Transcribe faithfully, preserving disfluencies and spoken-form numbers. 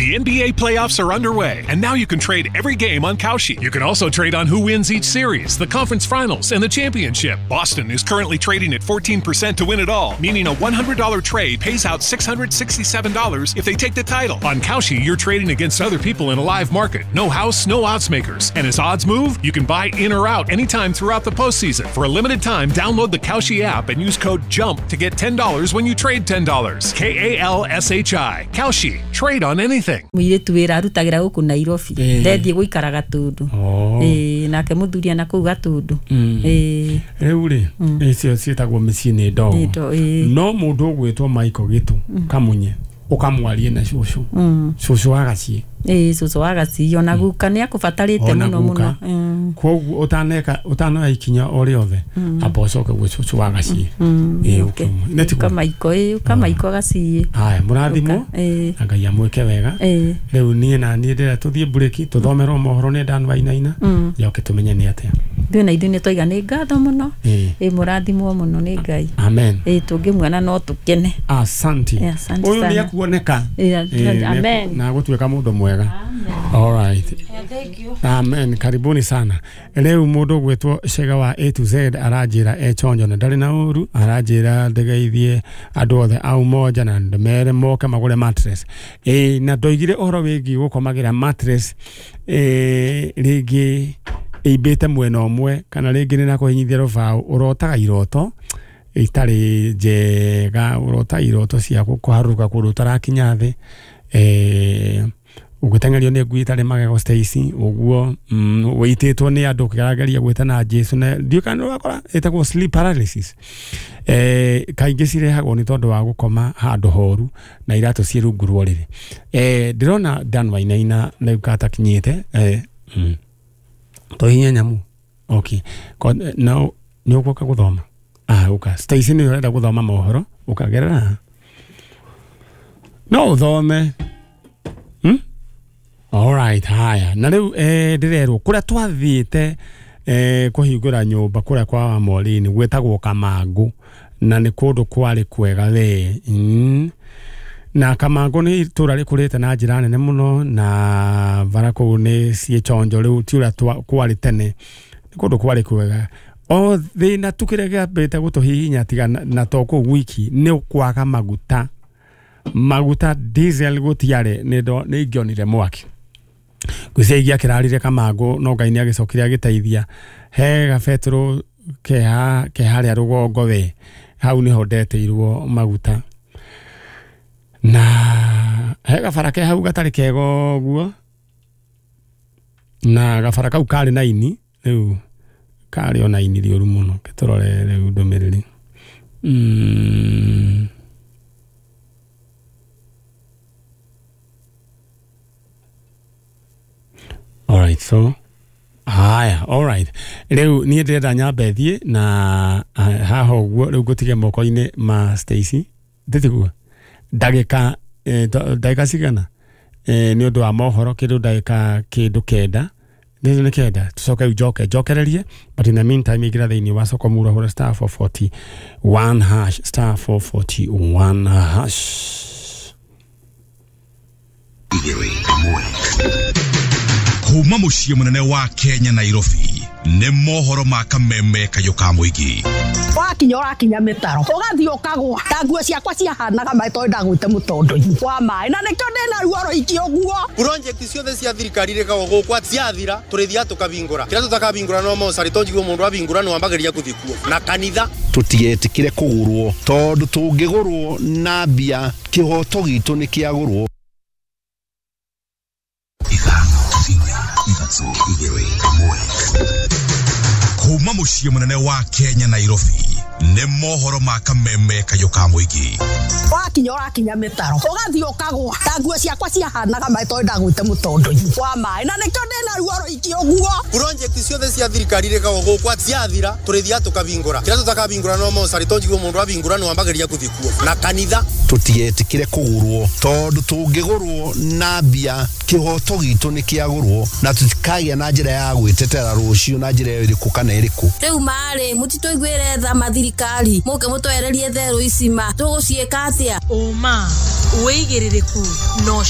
The N B A playoffs are underway, and now you can trade every game on Kalshi. You can also trade on who wins each series, the conference finals, and the championship. Boston is currently trading at fourteen percent to win it all, meaning a one hundred dollar trade pays out six hundred sixty-seven dollars if they take the title. On Kalshi, you're trading against other people in a live market. No house, no odds makers. And as odds move, you can buy in or out anytime throughout the postseason. For a limited time, download the Kalshi app and use code JUMP to get ten dollars when you trade ten dollars. K A L S H I. Kalshi. Trade on anything. Mũirĩtu wĩra arutagĩra gũkũ Nairobi ndethiĩ gũikara Gatundu ĩĩ nake mũthuri ana kũu Gatundu ĩĩ rĩu rĩ icio ciĩtagwo mĩciĩ nĩ ndogo no mũndũ ũgwĩtwo Michael Gĩtũ Kamunye ũkamwarie na cũcũ cũcũ wa Gaciĩ ĩĩ cũcũ wa Gaciĩ ona guka nĩ akũbatarĩte mũno mũno koguo ũtaneka ũtanoya ikinya o rĩothe amba ũcoke gwĩ cũcũ wa Gaciĩ ĩĩ ũka Michael ĩĩ ũka Michael Gaciĩ haya mũrathimwo na Ngai amwĩke wega rĩu niĩ na niĩ ndĩrenda tũthiĩ mburĩki tũthomerwo mohoro nĩ Dan Wainaina njoke tũmenye nĩ atĩa ithuĩ na ithuĩ nĩ twaiga nĩ ngatho mũno ĩĩ mũrathimwo mũno nĩ Ngai amen ĩĩ tũngĩmuona no tũkene asante ũyũ nĩ akuoneka amen na gũtuĩka mũndũ mwega. All right. Yeah, thank you. Amen. Karibuni sana. Leo mundu gwetwo Shega wa A to Z aranjira e chonjo na ndari na uru aranjira ndegeithie andu othe au moja na ndemere moke magure mattress. Eh na ndoigire uhoro wigi gukomagira mattress eh ringi imbite mwena umwe kana ringi ni na kuhinyithia rubao urotaga iroto itari njega urota iroto cia kuharuka kundu utarakinya thi eh ugutengerio ni ngui itari magego Stacy uguo wiititwo ni andu kirageria gwitana Jesu na ndiu kana wakora itagwo sleep paralysis eh kaingi cirehagwo ni tondu wa gukoma handu horu na iratu ci rungu rwa riri eh ndirona Dan Wainaina riu katakinyite eh tohinya nyamu okay no ni uguka guthoma ah uka Stacy ni urenda guthoma mohoro ukagerera no uthome hmm? All right, haya. Na riu eh ndirerwo kuria twathiite eh kuhingura nyumba kuria kwa Morini gwetagwo Kamangu na ni kundu kwari kwega we. Mm. Na Kamangu ni itura rikurite na njira nene muno na bara kuu ni ciĩchonjo riu ti uria kwari tene. Ni kundu kwari kwega. O thina tu kiria giambite gutuhihinya tiga na to kuu wiki ni kwaga maguta. Maguta diesel gutiare ni ndo ni ingionire mwaki gwicigia kirarire Kamangu no Ngai ni agicokire agiteithia he gabetro keha keharia rugongo we hau niho ndeteirwo maguta na he gabara ke hau gatari kega uguo na gabara kau kari na ini riu kari ona ini riuru muno kiturore riu ndumiriri mm. All right, so haya, all right. Rĩu niĩ ndĩrenda nyambe thiĩ na haha ũguo rĩu ngũtige moko-inĩ ma Stacy ndĩtiguo ndagĩka ndagĩka cigana nĩ ũndũ wa mohoro kĩndũ ndagĩka kĩndũ kenda nĩ nĩ kenda tucoke rĩu njoke njokererie but in the meantime ingĩra thĩinĩ wa soko mura hũra star four forty-one hash star four forty-one hash kuma muciĩ munene wa Kenya Nairobi nĩ mohoro ma kameme kayũ ka mũingĩ wakinya ũrakinya mĩtaro ũgathiĩ ũkagwa ta nguo ciakwa ciahanaga maĩ tondũ ndagwĩte mũtondo-inĩ wa maĩ na nĩkĩo ndĩna ruo rũingĩ ũguo project ciothe cia thirikari rĩkagwo gũkũ ciathira tũrĩthiaga tũkabingũra kĩrĩa tũtakabingũra no mocarĩ to njiguo mũndũ abingũra nĩ wambagĩrĩria gũthiĩ kuo na kanitha tũtigetĩkĩre kũgũrwo tondũ tũngĩgũrwo na mbia kĩhoto gitũ nĩ kĩagũrwo kuma muciĩ munene wa Kenya Nairobi nĩ mohoro ma kameme kayũ ka mũingĩ wakinya ũrakinya mĩtaro ũgathiĩ ũkagwa ta nguo ciakwa ciahanaga maĩ tondũ ndagwĩte mũtondo-inĩ wa maĩ na nĩkĩo ndĩna ruo rũingĩ ũguo project ciothe cia thirikari rĩkagwo gũkũ ciathira tũrĩthiaga tũkabingũra kĩrĩa tũtakabingũra no mocarĩ to njiguo mũndũ abingũra nĩ wambagĩrĩria gũthiĩ kuo na kanitha tũtigetĩkĩre kũgũrwo tondũ tũngĩgũrwo na mbia kĩhoto gitũ nĩ kĩagũrwo na tũtikagĩa na njĩra ya gwĩtetera rũciũ na njĩra ĩrĩkũ kana ĩrĩkũ rĩu marĩ mũtitũiguĩre tha mathirikari mũke mũtwererie therũ ici ma tũgũciĩka atĩa ũma wĩigĩrĩrĩku no